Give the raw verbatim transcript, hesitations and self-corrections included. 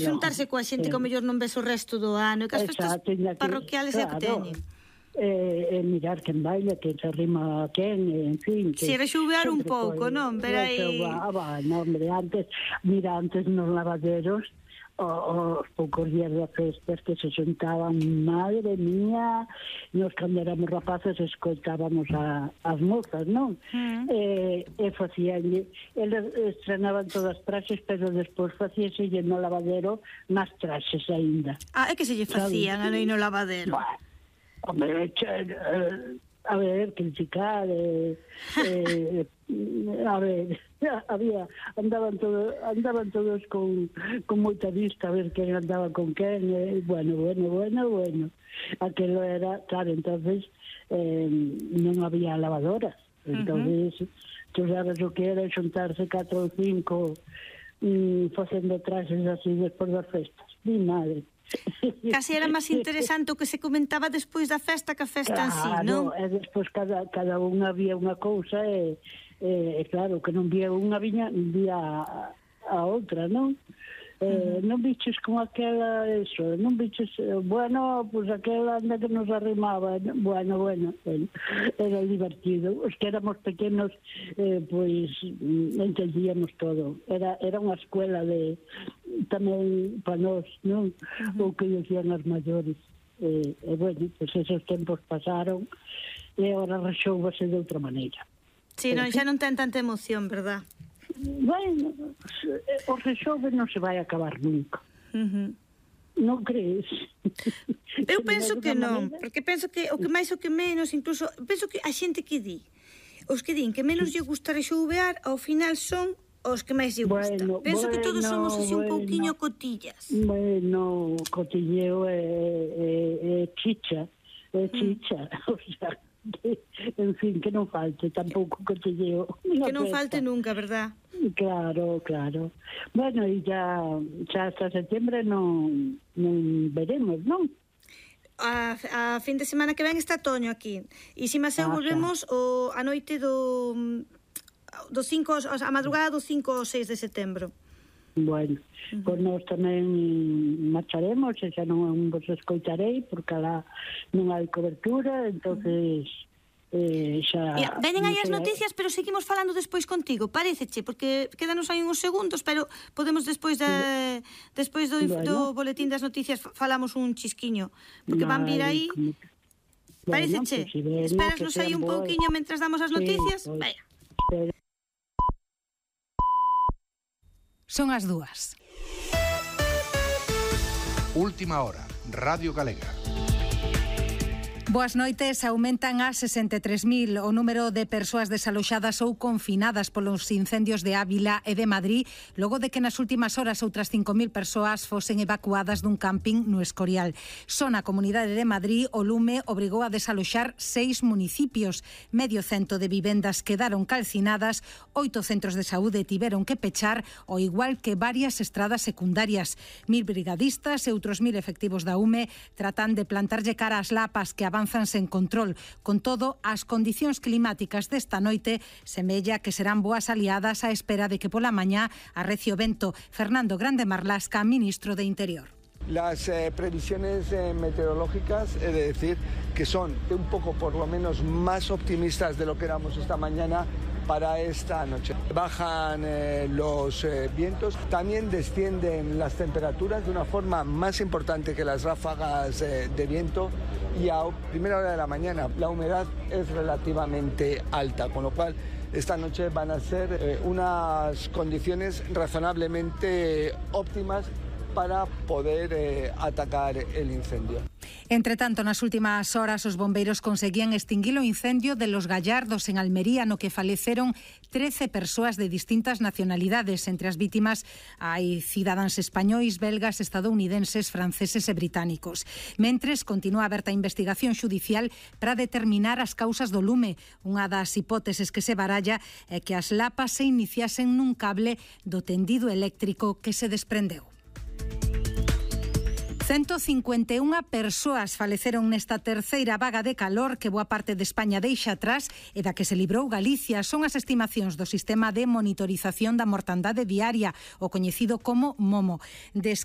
xuntarse coa xente que ao mellor non ves o resto do ano, e que as festas parroquiales é o que teñen. E mirar quen baila, quen se arrima a quen, en fin. Si, rexuvear un pouco, non? Ver aí... Non, hombre, antes, mira, antes nos lavaderos, os poucos días de festas que se xuntaban, madre mía, nos cando éramos rapaces escoitábamos a, as mozas, non? Mm. E, e facían, eles estrenaban todas as traxes, pero despois facíase no lavadero máis traxes aínda. Ah, é que se lle facían aí no lavadero? Bah, hombre, eh, a ver, criticar, eh, eh, a ver, había, andaban todos, andaban todos con, con moita vista a ver quen andaba con quen, eh, bueno, bueno, bueno, bueno. Aquelo era, claro, entonces eh, non había lavadoras, entonces, uh-huh. tú sabes o que era xuntarse catro ou cinco mm, facendo traxes así despois das festas, mi madre. Casi era máis interesante o que se comentaba despois da festa que a festa claro, en sí, non? E despois cada, cada unha había unha cousa e, e, claro, que non vía unha viña, vía a, a outra, non? Eh, uh-huh. Non biches como aquela, eso, non biches, bueno, pues aquela anda que nos arrimaba, bueno, bueno, bueno, era divertido. Os que éramos pequenos, eh, pois, entendíamos todo. Era, era unha escuela de, tamén para nós, non? Uh-huh. O que decían as maiores. E, eh, bueno, pues esos tempos pasaron e agora rexoubase de outra maneira. Sí, non, xa non ten tanta emoción, verdad? Bueno, o rexove non se vai acabar nunca. Uh-huh. Non crees? Eu penso que non, porque penso que o que máis o que menos, incluso, penso que a xente que di, os que din que menos lle gusta rexovear, ao final son os que máis lle gusta. Bueno, penso bueno, que todos somos así un bueno, pouquiño cotillas. Bueno, cotilleo é, é, é chicha, é chicha, mm. o sea, que, en fin, que non falte tampouco cotilleo. Que non falte nunca, verdad? Claro, claro. Bueno, e ya, xa hasta setembro non, non veremos, non? A, a fin de semana que ven está Toño aquí. E si máis eu volvemos o, a noite do, do cinco, a madrugada do cinco ou seis de setembro. Bueno, uh-huh. Pois nós tamén marcharemos, e xa non vos escoitarei, porque alá non hai cobertura, entonces... Eh, xa, Mira, venen aí as noticias, pero seguimos falando despois contigo, paréceche, porque quedanos aí uns segundos, pero podemos despois de, despois do, bueno. do boletín das noticias falamos un chisquiño, porque van vir aí. Bueno, paréceche? Pues si ven, esperasnos aí un pouquiño mentras damos as noticias. Sí, pues, vaya. Son as dúas. Última hora, Radio Galega. Boas noites. Aumentan a sesenta e tres mil o número de persoas desaloxadas ou confinadas polos incendios de Ávila e de Madrid, logo de que nas últimas horas outras cinco mil persoas fosen evacuadas dun camping no Escorial. Só na Comunidade de Madrid o lume obrigou a desaloxar seis municipios. Medio cento de vivendas quedaron calcinadas, oito centros de saúde tiveron que pechar, ao igual que varias estradas secundarias. Mil brigadistas e outros mil efectivos da U M E tratan de plantarlle cara ás lapas que avanzan sen control. Con todo, as condicións climáticas desta noite semella que serán boas aliadas á espera de que pola mañá arrecie o vento. Fernando Grande Marlasca, ministro de Interior. Las eh, previsiones eh, meteorológicas, he de decir que son un poco por lo menos más optimistas de lo que éramos esta mañana para esta noche. Bajan eh, los eh, vientos, también descienden las temperaturas de una forma más importante que las ráfagas eh, de viento, y a primera hora de la mañana la humedad es relativamente alta, con lo cual esta noche van a ser eh, unas condiciones razonablemente óptimas para poder eh, atacar el incendio. Entre tanto, nas últimas horas os bombeiros conseguían extinguir o incendio de Los Gallardos en Almería, no que faleceron trece persoas de distintas nacionalidades. Entre as vítimas hai cidadáns españois, belgas, estadounidenses, franceses e británicos. Mentres, continúa aberta a investigación xudicial para determinar as causas do lume. Unha das hipóteses que se baralla é que as lapas se iniciasen nun cable do tendido eléctrico que se desprendeu. ciento cincuenta e unha persoas faleceron nesta terceira vaga de calor que boa parte de España deixa atrás e da que se librou Galicia. Son as estimacións do Sistema de Monitorización da Mortandade Diaria, o coñecido como MOMO. Des